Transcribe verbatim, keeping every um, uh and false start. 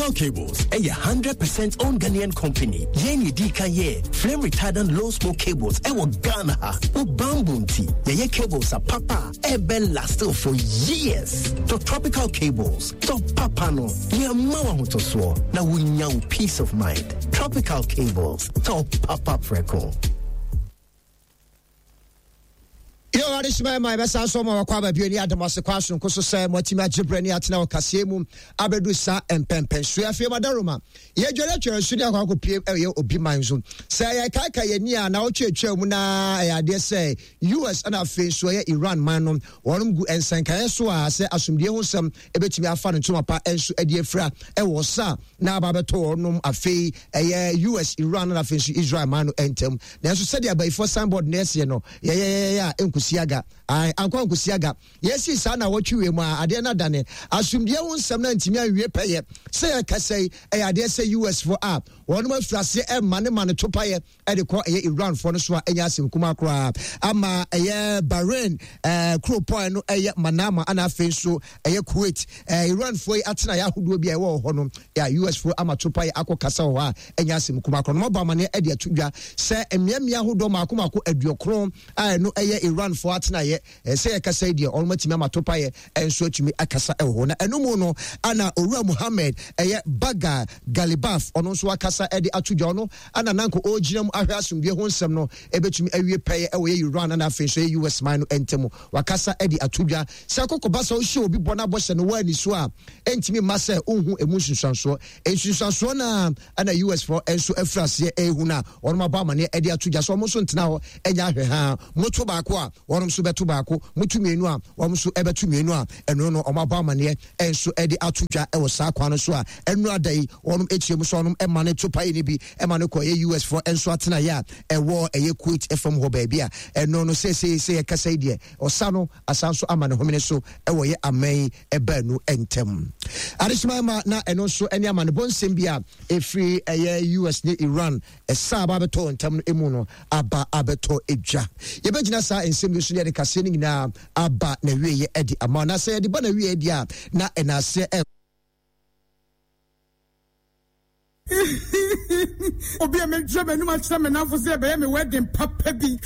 Tropical Cables ɛyɛ hundred percent owned Ghanaian company. Yɛn yɛ kan yɛ flame retardant low smoke cables ɛwɔ Ghana ha. Wo bamboo nti yɛyɛ cables a papa ɛbɛ last for years. To Tropical Cables, to papa no, yɛ ma wo ahotosoɔ na wonya wo peace of mind. Tropical Cables, to papa prɛko. Yo, adehyema ma yɛbɛsan so ma wakɔ aba bio ne adom ase kɔ asonko so sɛ moatumi agye berɛ ne atena wɔ kaseɛ mu abɛdu saa mpɛmpɛnsoɔ. Afei madaroma yɛdware atwere so ne akɔ akɔpie ɛyɛ obi man so sɛ yɛkaaka yɛni a na wotweatwea mu na ɛyɛ adeɛ sɛ U S ɛna afei nso ɛyɛ Iran man no wɔnom gu nsankaeɛ so a sɛ asomdie ho nsɛm ɛbɛtumi afa no ntoma pa ɛnso adi afira ɛwɔ sa na aba bɛtɔ wɔnom afei ɛyɛ U S Iran na afei nso Israel man no ɛntɛm. Nanso sɛdeɛ abayifoɔ signboard na ɛseɛ no yɛyɛyɛyɛ a nkusiaga ankɔ nkusiaga yɛsi saa na wɔtwe mu a adeɛ na dane asomdie ho nsɛm na ntumi anwie pɛyɛ sɛ yɛkasa yi ɛyɛ adeɛ sɛ U S fo a wɔnom afiri aseɛ ɛma ne ma ne topayɛ ɛde kɔ ɛyɛ Iran fo no so a ɛnyɛ asɛm kuma koraa ama ɛyɛ Bahrain ɛɛ kuropɔn no ɛyɛ Manama ana afei nso ɛyɛ Kuwait ɛɛ Iran fo yi atena yɛ ahodoɔ bi a ɛwɔ hɔ no yɛ U S fo ama topayɛ akɔ kasa wɔ hɔ a ɛnyɛ asɛm kuma koraa no mɔbɔ amaneɛ ɛde ato dwa sɛ mmeammea ahodoɔ mako mako aduokron a ɛno ɛyɛ Iran fo atena yɛ sɛ yɛkasa yi deɛ ɔno matumi ama topayɛ ɛnso atumi akasa ɛwɔ hɔ na ɛno mu no ana Owura Muhammad ɛyɛ Baga Galibaf ɔno nso akasa ɛde ato dwa ɔno ana nanko ɔgyina mu ahwɛ asomdwe ho nsɛm no ɛbɛtumi awie pɛyɛ ɛwɔ yɛ Iran ana afei nso yɛ U S man no ɛntɛm wakasa ɛde ato dwa sɛ akɔkɔba sɛ wohyɛ obi bɔ no abɔhyɛ no wɔ ani so a ɛntumi mma sɛ wohu emu nsunsuansoɔ nsunsuansoɔ na ana U S fo ɛnso afiri aseɛ ɛhu no a ɔnom abɔ amaneɛ ɛde ato dwa sɛ ɔmo nso ntena hɔ ɛnyɛ ahwɛ ha moto baako a wɔnom nso bɛto baako moto mmienu a wɔn nso ɛbɛto mmienu a ɛno no ɔmo abɔ amaneɛ ɛnso ɛde ato dwa ɛwɔ saa kwan no so a ɛno ada yi wɔnom ekyir mu so wɔnom ɛma ne to pae ne bi ɛma no kɔ ɛyɛ U S fo ɛnso atena yɛ a ɛwɔ ɛyɛ Kuwait ɛfam hɔ baabi a ɛno no sɛsɛ sɛ yɛkasa yi deɛ ɔsa no asan so ama ne homene so ɛwɔ yɛ aman ɛbaa nu ɛntɛm adehyema ma na ɛno nso ɛne ama ne bɔnsɛm bi a ɛfiri ɛyɛ U S ne Iran ɛsa aba abɛtɔ ntɛm no emu no aba abɛtɔ edwa yɛbɛgyina saa nsɛm yi so ne yɛde kaseɛ no nyinaa aba na wieɛ ɛde ama na sɛ yɛde ba na wieɛ deɛ a na ɛnaaseɛ ɛ Obi a medre m'anum akyerɛ me namfo sɛ ɛbɛyɛ me wedding papa bi.